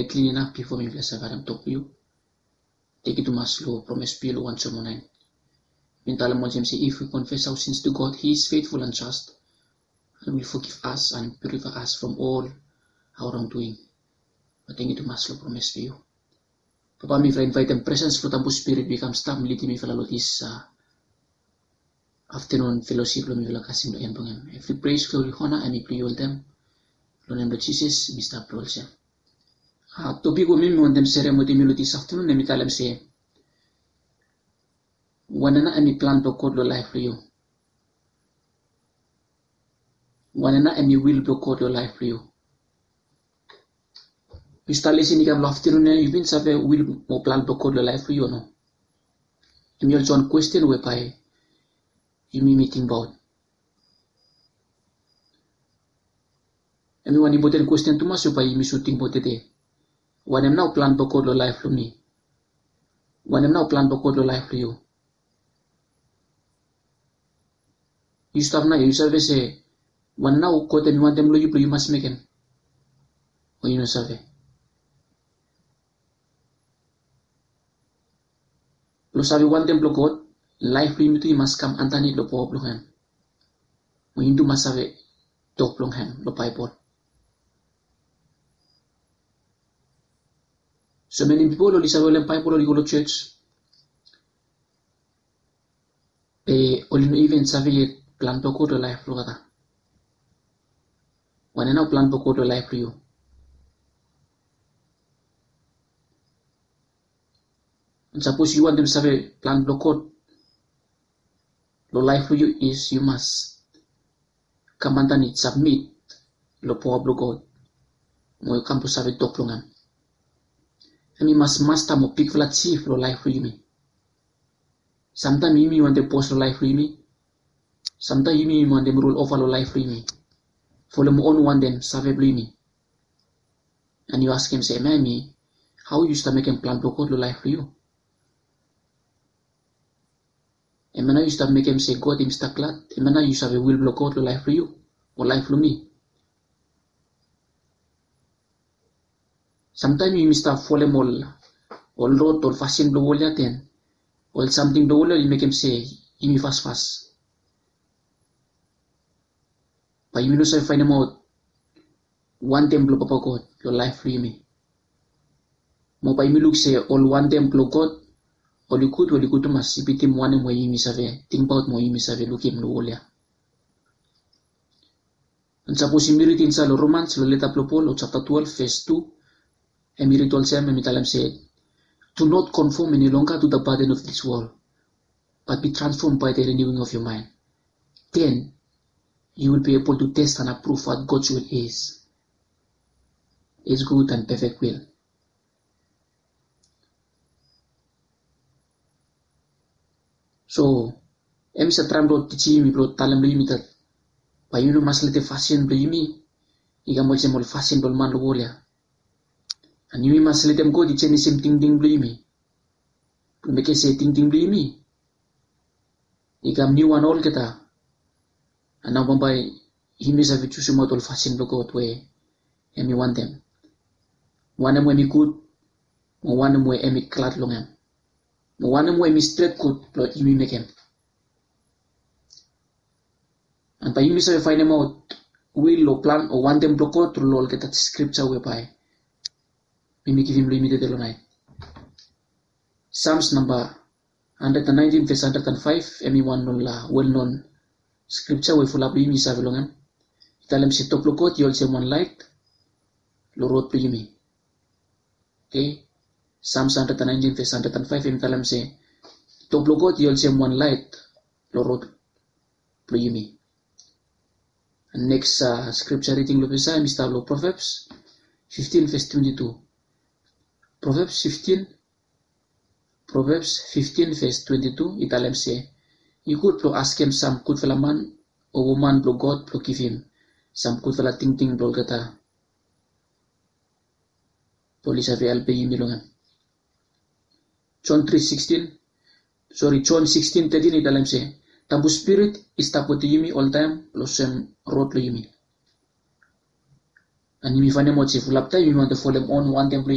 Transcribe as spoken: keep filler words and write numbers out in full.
klin inap bifo mifala save harem tok blong yu. Tenkyu tumas long promes blong yu long wan Jon wan naen. Bin talem olsem se, if we confess our sins to God, he is faithful and just and will forgive us and purify us from all our wrongdoing. Be tenkyu tumas long promes blong yu. Papa, mifala invaetem presens blong Tambu Spirit blong i kam stap lidim mifala long this afternoon fellowship blong mifala kasem long en blong hem. Evri praise, glory, honor hemi blong yu oltaem. Long nem blong Jisas mi stap long olsem. Topik we mi mi wantem serem wetem yu long this afternoon hemi talem se, wanem nao hemi plan blong God long laef blong yu? Wanem nao hemi will blong God long laef blong yu? Yu stap lisin i kam long aftenun ya, yu bin save will mo plan blong God long laef blong yu o no? Hemi olsem wan kwesten we bae yumi mi tingbaot. Hemi wan impoten kwesten tumas we bae yumi sud tingbaot tede. Wanem nao plan blong God long laef blong mi? Wanem nao plan blong God long laef blong yu? Yu stap nao ya, yu save se wanem nao God hemi wantem long yu blong yu mas mekem? O yu no save? Blong save wantem blong God, laef blong yumi tu i mas kam andanit long paoa blong hem. Mo yumi tu mas save tok blong hem long Baebol. So many pipol oli save holem Baebol, oli go long jos, be oli no iven save yet plan blong God long laef blong olgeta. Wanem nao plan blong God long laef blong yu? And sapos yu wantem save plan blong God long laef blong yu, is yu mas kam andanit, sabmit long paoa blong God, mo yu kam blong save tok blong hem. Hemi mas masta mo bigfala jif long laef blong yumi. Samtaem yumi wantem bos long laef blong yumi. Samtaem yumi wantem rul ova long laef blong yumi, folem on wantem save blong yumi. And yu askem se, hemia hemi hao yu stap mekem plan blong God long laef blong yu? Hemia nao yu stap mekem se God hemi stap glad? Hemia nao yu save will blong God long laef blong yu o laef blong mi? Samtaem yumi stap folem ol, ol rod, ol fasin blong wol ya, den ol samting blong wol ya oli mekem se yumi fasfas. Bae yumi no save faenemaot wantem blong Papa God long laef blong yumi. Mo bae yumi luk se ol wantem blong God oli gud, oli gud tumas, i bitim wanem we yumi save tingbaot mo yumi save lukim long wol ya. And sapos yumi ridim insaed long Romans, long leta blong Pol, long japta twelve, ves tu, hemi rid olsem, hemi talem se, "Do not conform any longer to the pattern of this world, but be transformed by the renewing of your mind. Then you will be able to test and approve what God's will is, his good and perfect will." So hemi save traem blong tijim yumi, blong talem long yumi dat bae yumi no mas letem fasin blong yumi i kam olsem ol fasin blong ol man long wol ya. And yumi mas letem God i jenisim tingting blong yumi, blong mekem se tingting blong yumi i kam niuwan olgeta. And nao bambae yumi save jusimaot ol fasin blong God we hemi wantem, wanem we hemi gud, mo wanem we hemi glad long hem, mo wanem we hemi stret gud blong yumi mekem. And bae yumi save faenemaot will o plan o wantem blong God tru long olgeta skripja we bae mi mi givim long yumi tede long naet. Psalms namba hundred and nineteen, ves hundred and five, hemi wan long ol welknon skripja we fulap blong yumi i save long hem. I talem se, "Tok blong God i olsem wan laet long rod blong yumi." Okay. Psalms hundred and nineteen, ves hundred and five, hemi talem se, "Tok blong God i olsem wan laet long rod blong yumi." And next, uh, scripture reading long ples ia hemi stap long Proverbs fifteen, ves twenty-two. Proverbs fifteen, Proverbs fifteen, ves twenty-two i talem se, i gud blong askem sam gudfala man o woman blong God blong givim sam gudfala tingting blong olgeta, blong oli save helpem yumi long hem. John three sixteen, sori, John sixteen thirteen i talem se, Tambu Spirit i stap wetem yumi oltaem long sem rod long yumi. And yumi fanem ol se fulap taem yumi wantem folem on wantem blo